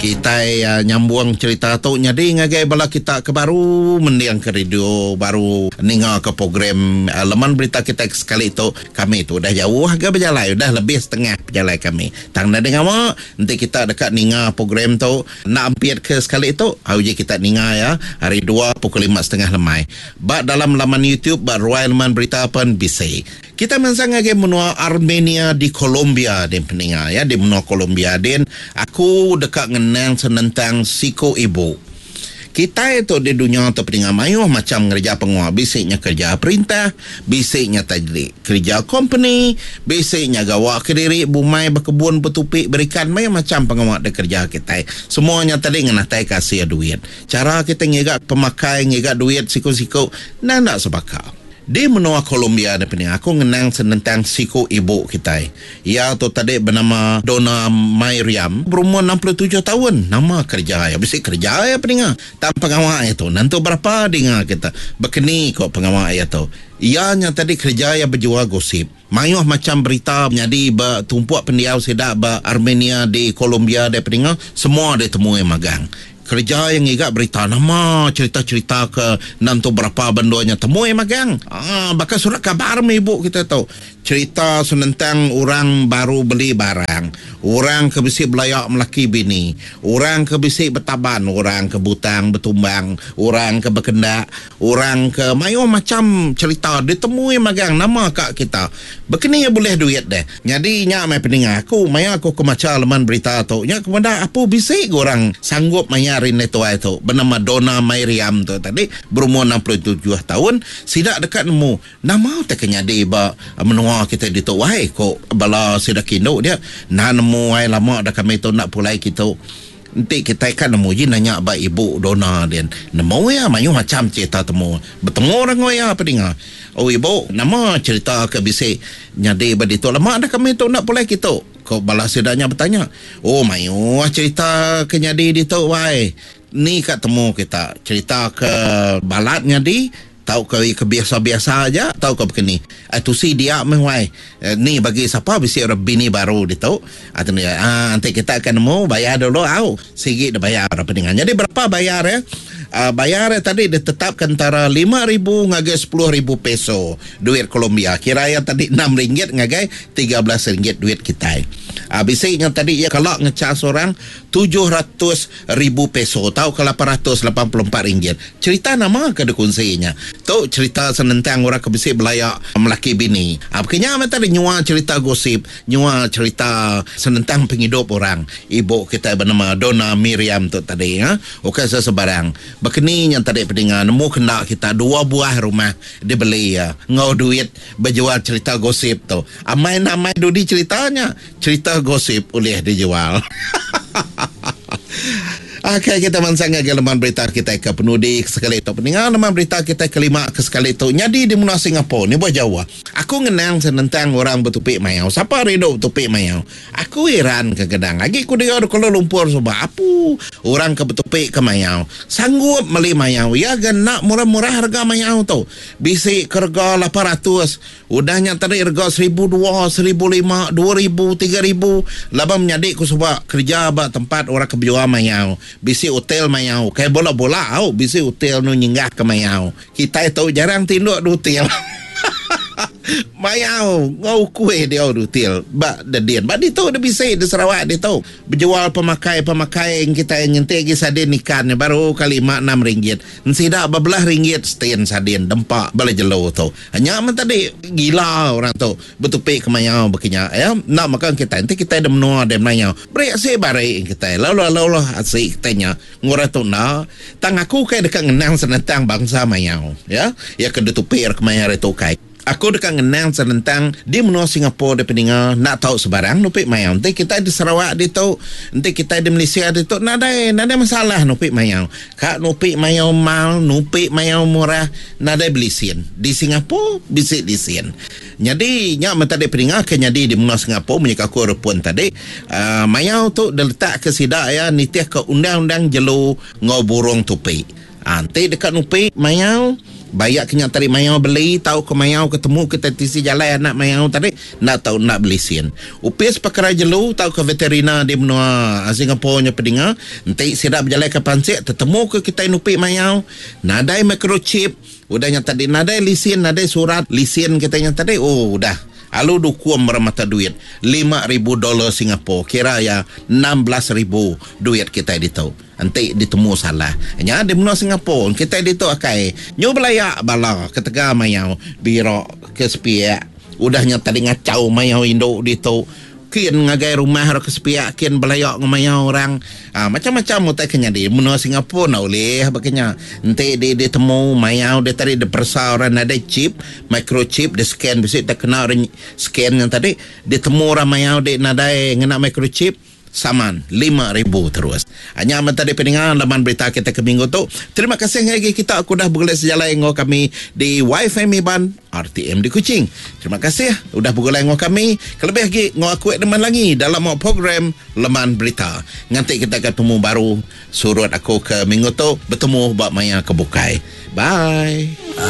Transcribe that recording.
Kitai nyambung cherita tu nyadi ngagai bala kita ke baru mendingka radio baru ningaka program leman berita kitai ke sekali tu. Kami tu udah jauh ga bejalai udah lebih setengah pejalai kami. Tang nadai ngawa enti kita deka ninga program tu enda ampit ke sekali tu uji kita ninga iya hari dua pukul lima setengah lemai. Ba dalam laman YouTube ba ruai leman berita pen bisi. Kitai mansang ngagai menua Armenia di Colombia din peninga ya di menua Colombia din aku deka ngenang senentang siku ibu. Kitai tu di dunya tu peninga mayuh macham ngereja pengawa bisi nya kereja perintah, bisi nya tadi kereja kompeni, bisi nya gawa kediri bumai bekebun betupi berikan mayuh macham pengawa dikereja kitai. Semua nya tadi ngenatai ka asil duit. Chara kitai ngiga pemakai ngiga duit siku-siku endang enda sebaka. Di menua Colombia ne pening aku ngenang senentang siku ibu kitai. Iya tu tadi benama Dona Myriam berumur 67 taun. Nama kereja iya? Bisi kereja iya peninga. Tang pengawa iya tu nentu berapa dinga kita. Bekeni ko pengawa iya tu. Iya nya tadi kereja iya bejual gosip. Mayuh macham berita nyadi ba tumpuk pendiau sida ba Armenia di Colombia deh peninga semua ditemu iya magang. Kereja iya ngiga berita nama cherita-cherita ke enda entu berapa ba endur nya temu iya magang. Aaa baka surat kabar meh ibu kita tu. Cherita senentang orang baru beli barang, orang ke bisi belaya melaki bini, orang ke bisi betaban, orang ke butang betumbang, orang ke bekendak, orang ke mayuh macham cherita ditemu iya magang nama ka kita. Bekeni iya bulih duit deh. Nyadi nya meh peninga aku maya aku ke macha leman berita tu nya ke meda apu bisi ga orang sanggup mayar indai tuai tu benama Dona Myriam tu tadi berumur 67 taun sida deka nemu nama utai ke nyadi ba menua kitai ditu wai ku bala sida ke indu dia enda nemu ai lama dah kami tu enda pulai kitu. Enti kitai ka nemu ji nanya ba ibu Dona din. Nemu iya mayuh macham cherita temu. Betemu orang enggau iya pedinga. Oh ibu, nama cherita ke bisi nyadi ba ditu lama dah kami tu enda pulai kitu? Ku bala sida nya betanya. Oh mayuh cherita ke nyadi ditu wai. Ni ka temu kita cherita ke balat nyadi Tauka iya ke biasa-biasa aja tauka baka ni. Ai tusi dia meh wai. Ni bagi sapa bisi orang bini baru ditu. Ai tu nya aaa enti kita ke nemu bayar dulu au. Sigi da bayar orang peninga. Nyadi berapa bayar iya? Aaa bayar iya tadi ditetapka entara 5000 ngagai 10,000 peso duit Colombia. Kira iya tadi enam ringgit ngagai 13 ringgit duit kitai. Aaa bisi nya tadi iya kala ngecas orang 700 ribu peso tauka 884 ringgit. Cherita nama ke dikunsi nya? Tu cherita senentang orang ke bisi belaya melaki bini. Baka nya meh tadi nyua cherita gosip, nyua cherita senentang pengidup orang. Ibu kitai benama Dona Miriam tu tadi. Ukai sesebarang. Baka ni nya tadi pedinga nemu ke enda kita dua buah rumah dibeli iya enggau duit bejual cherita gosip tu. Amai enda amai dudi cherita nya. Cherita gosip ulih dijual. Okey kita mansang ngagai leman berita kitai ke penudi ke sekali tu. Peninga leman berita kitai kelima ke sekali tu nyadi di menua Singapore ni buah jauh. Aku ngenang senentang orang betupi mayau. Sapa rindu betupi mayau? Aku iran ke gedang. Agi ku diau di Kuala Lumpur suba. Apu orang ke betupi ke mayau. Sanggup meli mayau. Iya ga enda murah-murah rega mayau tu. Bisi ke rega 800. Udah nya tadi rega 1200, 1500, 2000, 3000 laban menyadi ku suba kerja ba tempat orang ke bejual mayau. Bisi hotel mayau. Kai bola-bola au bisi hotel nu nyinggah ke mayau. Kitai tu jarang tinduk di hotel. Mayau enggau ukui diau di hotel ba dedin. Ba ditu deh bisi di Sarawak ditu. Bejual pemakai-pemakai kitai nyentik agi sardin ikan nya baru kali lima enam ringgit. Ensida bebelah ringgit setin sardin dempa bala jelu tu. Nya meh tadi gila orang tu betupi ke mayau baka nya ya. Enda mega kitai enti kitai da menua deh mayau beri asi bari kitai lalu lalu asi kitai nya ngurang tu enda. Tang aku kai deka ngenang senentang bangsa mayau ya. Iya ke ditupi ra kemaya hari tu kai. Aku deka ngenang senentang di menua Singapore deh peninga enda tau sebarang nupi mayau. Enti kitai di Sarawak ditu, enti kitai di Malaysia ditu nadai nadai masalah nupi mayau. Ka nupi mayau mal, nupi mayau murah nadai belisin. Di Singapore bisi lisin. Nyadi nya meh tadi peninga ke nyadi di menua Singapore munyi ka aku repun tadi uhh mayau tu diletak ke sida iya nitih ke undang-undang jelu enggau burung tupi. Enti deka nupi mayau. Bayak ke nya tadi mayau beli tauka mayau ke temu kitai tisi jalai anak mayau tadi enda tau enda belisin. Opis Pekara Jelu tauka Veterina di menua Singapore nya pedinga enti sida bejalaika pansik tetemu ke kitai nupi mayau nadai microchip udah nya tadi nadai lisin nadai surat lisin kitai nya tadi ooh udah alu dukum meremata duit 5000 dollar Singapore kira iya 16,000 duit kitai ditu. Enti ditemu salah nya di menua Singapore kitai ditu akai nyu belaya bala ketegal mayau bira ke sepiak udah nya tadi ngachau mayau indu ditu kin ngagai rumah ra ke sepiak kin belaya enggau mayau orang aaa macam-macam utai ke nyadi menua Singapore enda ulih baka nya enti di ditemu mayau dia tadi diperesa orang nadai chip microchip di scan bisi tekena orang scan nya tadi ditemu orang mayau di nadai ngena microchip. Saman 5000 terus. Nya meh tadi peninga laman berita kita ke minggu tu. Terima kasih ngagai kita ke udah begulai sejalai enggau kami di WiFi Iban RTM di Kuching. Terima kasih udah begulai enggau kami kelebih agi enggau aku Edmund Langi dalam program Leman Berita. Nganti kita ke temu baru surut aku ke minggu tu betemu ba maya ke bukai. Bye.